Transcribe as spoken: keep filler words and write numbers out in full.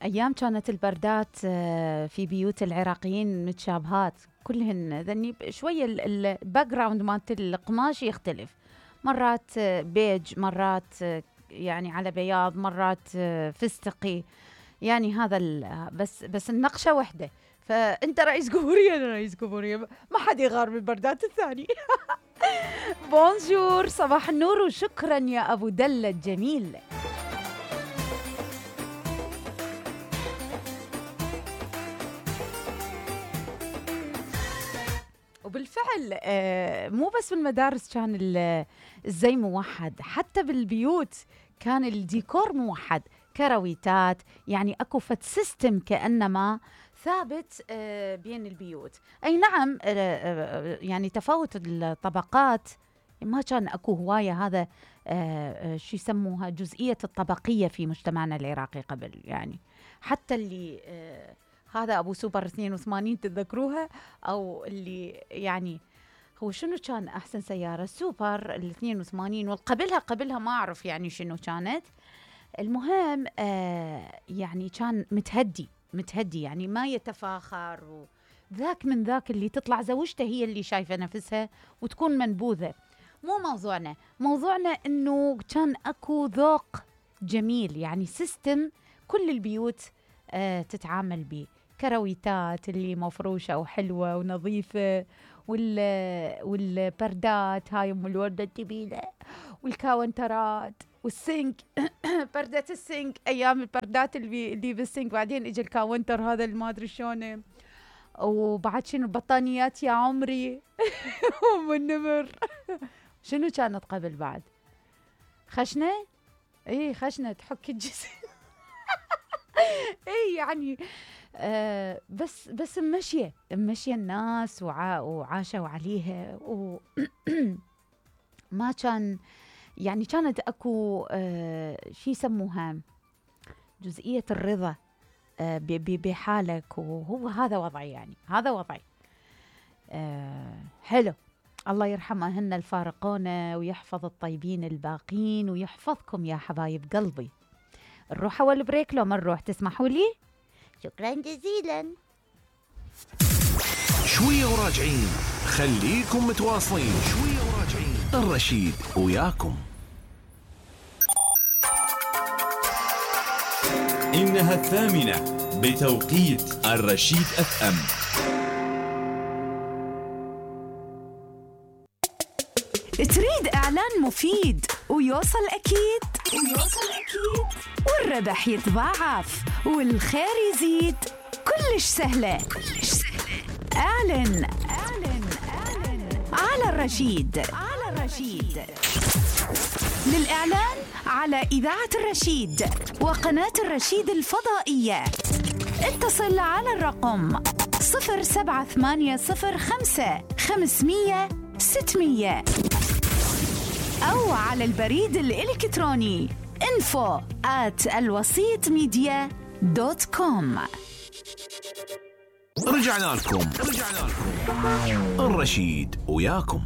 أيام كانت البردات في بيوت العراقيين متشابهات كلهن، ذني شوية الباك جراوند مالت القماش يختلف، مرات بيج، مرات يعني على بياض، مرات فستقي، يعني هذا بس بس النقشة وحدة. فأنت رئيس جمهورية أنا رئيس جمهورية، ما حد يغار من البردات الثاني. بونجور، صباح النور وشكرا يا أبو دلة الجميل. وبالفعل مو بس بالمدارس كان الزي موحد، حتى بالبيوت كان الديكور موحد، كرويتات، يعني اكو فت سيستم كأنما ثابت بين البيوت. اي نعم، يعني تفاوت الطبقات ما كان اكو هواية، هذا شو يسموها جزئية الطبقية في مجتمعنا العراقي قبل، يعني حتى اللي هذا أبو سوبر اثنين وثمانين تتذكروها، أو اللي يعني هو شنو كان أحسن سيارة؟ سوبر ال اثنين وثمانين، والقبلها قبلها ما أعرف يعني شنو كانت. المهم آه يعني كان متهدي متهدي يعني ما يتفاخر، وذاك من ذاك اللي تطلع زوجته هي اللي شايفة نفسها وتكون منبوذة. مو موضوعنا، موضوعنا إنه كان أكو ذوق جميل، يعني سيستم كل البيوت آه تتعامل به، كرويتات اللي مفروشة وحلوة ونظيفة، وال والبردات هاي ام الوردة الجميلة، والكاونترات والسينك. بردة السينك، ايام البردات اللي اللي بالسينك، بعدين اجى الكاونتر هذا اللي ما ادري شلونه. وبعد شنو البطانيات يا عمري. ام النمر. شنو كانت قبل بعد؟ خشنة؟ اي خشنة تحك الجسم. اي يعني آه بس بس ممشيه ممشيه الناس وع وعاشوا عليها، وما كان يعني كانت اكو آه شي يسموها جزئيه الرضا آه بحالك، وهو هذا وضعي، يعني هذا وضعي. آه حلو، الله يرحم أهلنا الفارقون ويحفظ الطيبين الباقين ويحفظكم يا حبايب قلبي. نروح أول بريك لو ما نروح تسمحوا لي؟ شكرا جزيلا. شوية وراجعين، خليكم متواصلين. شوية وراجعين، الرشيد وياكم. إنها الثامنة بتوقيت الرشيد أف أم. تريد إعلان مفيد ويوصل أكيد ويوصل أكيد والربح يتضاعف والخير يزيد، كلش سهلة كلش سهلة. اعلن اعلن اعلن على الرشيد على الرشيد. للإعلان على إذاعة الرشيد وقناة الرشيد الفضائية اتصل على الرقم صفر سبعة ثمانية صفر خمسة خمسمية ستمية أو على البريد الإلكتروني info at الوسيط ميديا دوت كوم. رجعنا لكم رجعنا لكم الرشيد وياكم.